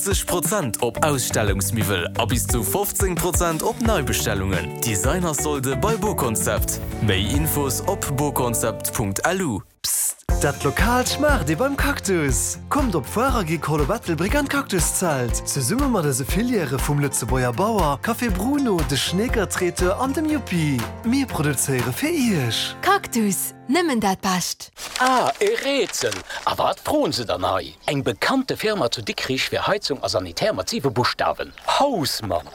20 Prozent op Ausstellungsmiwwel a bis zu 15 Prozent op Neibestellungen. Designersolde bei BoConcept. Méi Infos op boconcept.lu. Psst! Dat Lokaalt schmaacht ee beim Cactus! Kommt op d'Foire Agricole op Ettelbréck an d'Cactuszelt! Zesumme mat eise Filièrë vum Lëtzebuerger Bauer, Café Bruno, de Schneeker Traiteur an dem Yuppi. Mir produzéiere fir Iech! Cactus, nëmmen dat Bescht! Ah, e Rätsel! A wat froen se dann hei? Eng bekannte Firma zu Dikrich fir Heizung a Sanitär mat siwe Buschtawen, Hausmann!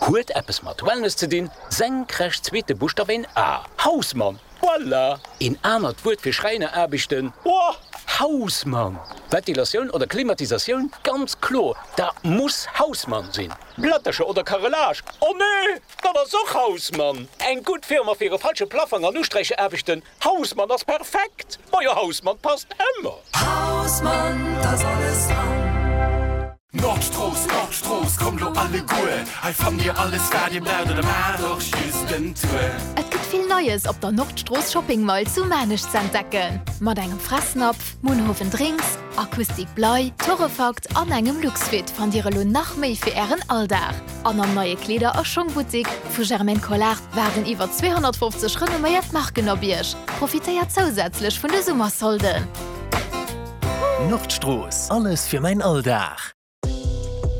Huet eppes mat Wellness ze dinn, senkrecht zweete Buschtaf een A, Hausmann! Voilà! Een anert Wuert fir Schräineraarbechten, oh, Hausmann! Ventilatioun oder Klimatisatioun, ganz kloer, dat muss Hausmann sinn! Plättercher oder Carrelage, oh nee, dat ass och Hausmann! Eng gutt Firma fir e falsche Plaffang an Usträicheraarbechten, Hausmann ass perfekt! Majo Hausmann passt ëmmer! Hausmann, t'ass alles dran! Nordstrooss, Nordstrooss, kommt lo alleguer, hei fannt dir alles wat dir braucht oder maacht och just en Tour. Et gëtt vill Neies op der Nordstrooss Shopping Mall zu Maarnech ze entdecken. Mat engem Fressnapf, Munhowen Drinks, Acoustic Blei, Torrefakt an engem Luxfit fannt dir elo nach méi fir ären Alldag. An am neie Kleeder a Schongbuttik vu Germaine Collard waarden iwwer 250 renomméiert Marken op iech. Profitéiert zousätzlech vun de Summersolden! Nordstrooss, alles fir mäin Alldag.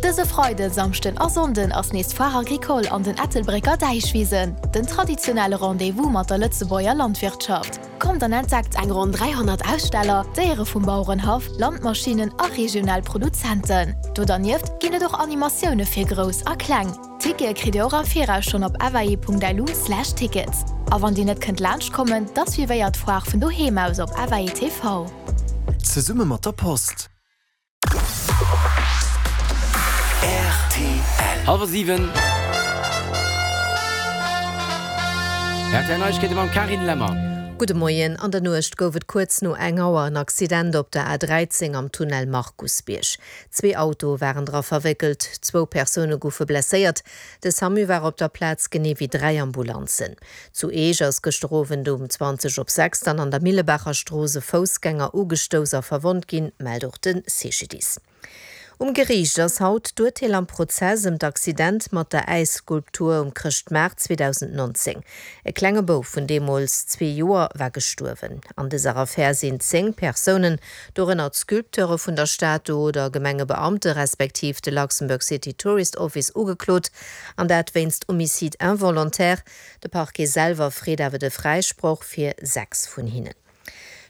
Dëse Freiden, Samschden a Sonnden ass nees d'Foire Agricole an den Ettelbrécker Däichwisen, den traditionelle Rendez-vous mat der Lëtzebuerger Landwirtschaft. Kommt an entdeckt eng ronn 300 Aussteller, Déiere vum Bauerenhaff, Landmaschinnen a regional Produzenten. Do dernieft ginn et och Animatioune fir Grouss a Kleng. Tickete kritt Dir och am Viraus schonn op fae.lu/tickets. A wann Dir net kënnt laanscht kommen, da suivéiert d'Foire vun doheem aus op FAE TV. Zesumme mat der Post. Rtl. Hallwer 7. Rtl Neiegkeete mam Carine Lemmer. Gudde Moien. An der Nuecht gouf et kuerz no eng Auer en Accident op der A13 am Tunnel Markusbierg. Zwee Autoe waren dra verwéckelt, zwou Persoune goufe blesséiert. De Samu war op der Plaz, genee wéi 3 Ambulanzen. Zu Eech ass gëschter Owend um 20 op 6 dann an der Millebaacher Strooss e Foussgänger ugestouss a verwonnt ginn, mellt och de CGDIS. Um Geriicht ass haut d'Urteel am Prozess ëm d'Accident mat der Äisskulptur um Chrëschtmaart 2019. E klenge Bouf vun deemools zwee Joer war gestuerwen. An dëser Affär sinn 10 Persounen, dorënner d'Sculpteure vun der Statu oder Gemengebeamte respektiv de Luxembourg City Tourist Office ugeklot, an dat wéinst Homicide involontaire. De Parquet selwer freet awer de Fräisproch fir 6 vun hinnen.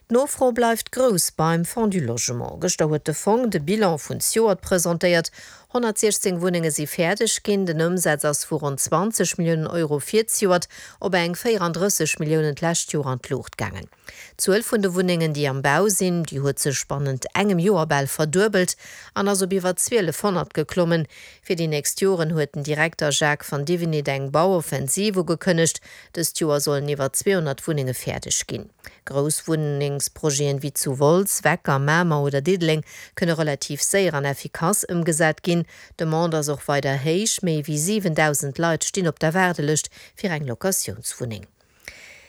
D'Nofro bleift grouss beim Fonds du Logement. Gëschter huet de Fong de Bilan vun zejoert presentéiert. 116 Wunnenge si fäerdeg ginn. Den Ëmsaz ass vu ronn 20 Milliounen Euro fir zejoert op eng 34 Milliounen d'lescht Joer an d'Luucht gaangen. D'Zuel vun de Wunnengen, déi am Bau sinn, déi huet sech bannent engem Joer bal verduebelt an ass op iwwer 1.200 geklommen. Fir déi nächst Joren huet den Direkter Jacques van Divinit eng Bauoffensiv ugekënnegt. Dëst Joer sollen iwwer 200 Wunnenge fäerdeg ginn. Grouss Wunnengsprojeten wéi zu Wolz, Wecker, Mamer oder Diddeleng kënne relativ séier an effikass ëmgesat ginn. D'Demande ass och weider héich, méi wéi 7.000 Leit stinn op der Waardelëscht fir eng Locatiounswunneng.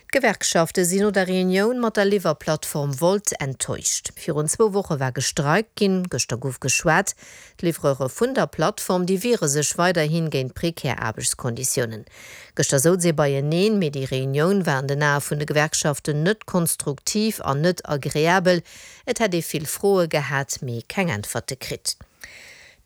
D'Gewerkschafte sinn no der Reunioun mat der Liwwerplattform Wolt enttäuscht. Virun zwou Woche war gestreikt ginn, gëschter gouf geschwat. D'Livreure vun der Plattform, déi wiere sech weiderhi géint prekär Aarbechtskonditiounen. Gëschter souz ee beieneen, mee déi Reunioun war an den Ae vun de Gewerkschaften net konstruktiv an net agreabel. Et hätt ee vill Froe gehat, mee keng Äntwerte kritt.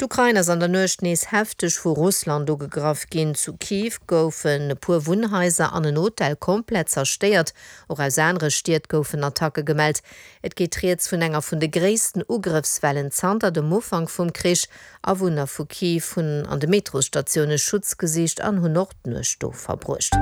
D'Ukrain ass an der Nuecht nees hefteg vu Russland ugegraff ginn. Zu Kiew goufen e puer Wunnhaiser an en Hotel komplett zerstéiert. Och aus anere Stied goufen Attacke gemellt. Et geet rieds vun enger vun de gréissten Ugrëffswellen zanter dem Ufank vum Krich. Awunner vu Kiew hunn an de Metrosstatioune Schutz gesicht an hunn och d'Nuecht do verbruecht.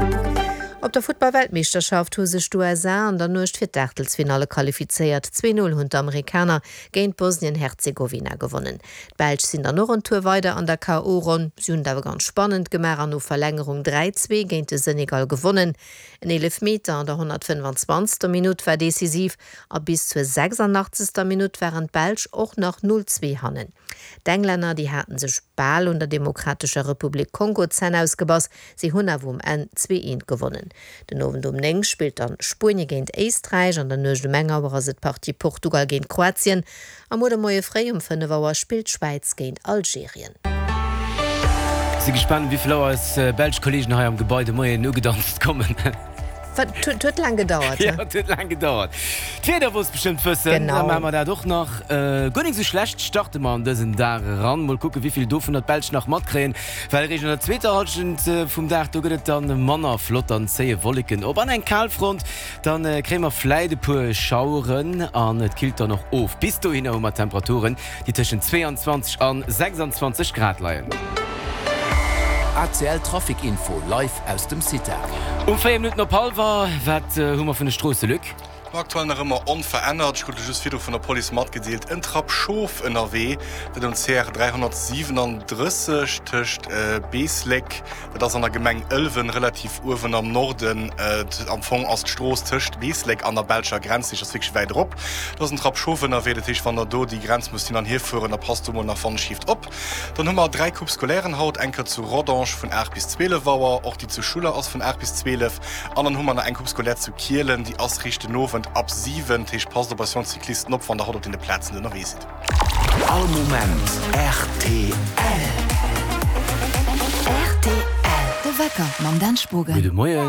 Op der Futtball-Weltmeeschterschaft hu sech d'USA an der Nuecht fir d'Aachtelsfinalle qualifizéiert. Zwee Null hunn d'Amerikaner géint Bosnien-Herzegowina gewonnen. D'Belsch sinn dann och en Tour weider an der KO-Ronn. Si hunn et awer ganz spannend gemaach an no Verlängerung 3, 2 géint de Senegal gewonnen. En Eelefmeter an der 125. Minutt war decisiv a bis zur 86. Minutt waren d'Belsch och nach 0, 2 hannen. D'Englänner, déi haten sech bal un der Demokratescher Republik Kongo d'Zänn ausgebass, si hunn awer um Enn 2, 1 gewonnen. Polen. Den Owend um 9 spillt dann Spuenie géint Éisträich, an der Nuecht um eng Auer ass et d'Partie Portugal géint Kroatien a muer de Moie fréi um 5 Auer spillt d'Schwäiz géint Algerien. Si gespaant um wéivill Auer eis belsch Kollegen hei am Gebai de Moien ugedanzt kommen. Wat, et huet laang gedauert, he? Jo, et huet laang gedauert. D'Wieder wolls bestëmmt wëssen. Genau. Da maache mer dat och nach. Guer nik sou schlecht starte mer an dësen Dag eran. Mol kucke wéivill dovunner d'Belsch nach matkréien. Well eréischt an der zweeter Hallschent vum Dag, do gëtt et dann manner flott, dann zéie Wolleken op an eng Kalfront. Dann kréie mer fläit e puer Schaueren an et killt dann och of. Bis dohinner hu mer Temperaturen, déi tëschent 22 an 26 Grad leien. ACL Trafic Info live aus dem CITA. Um 4 Minutten op hallwer, wat hu mer vun de Stroosse, Luc? Aktuell nach ëmmer onverännert. Ech krut elo just virdru vun der Police matgedeelt, en Trapp Schof ënnerwee, dat um CR 337 tëscht Beeslek, dat ass an der Gemeng Ëlwen, relativ uewen am Norden. Am Fong ass d'Strooss tëscht Beeslek an der belscher Grenz, dat ass wierklech wäit erop. Do ass en Trapp Schof ënnerwee, dat heescht, wann der do déi Grenz musst hin an hier fueren, da passt do mol nach wannschhieft op. Dann hu mer 3 Coupes scolairen haut, eng Kéier zu Rodange vun 8 bis 12 Auer, och déi zu Schuller ass vun 8 bis 12 an dann hu mer nach eng Coupe scolaire zu Kielen, déi ass riicht den Owend ab 7. Dat heescht, passt op eis jonk Cyclisten op, wann der haut op deene Plazen ënnerwee sidd. All Moment rtl. Rtl, De Wecker mam Dan Spogen. Gudde Moien.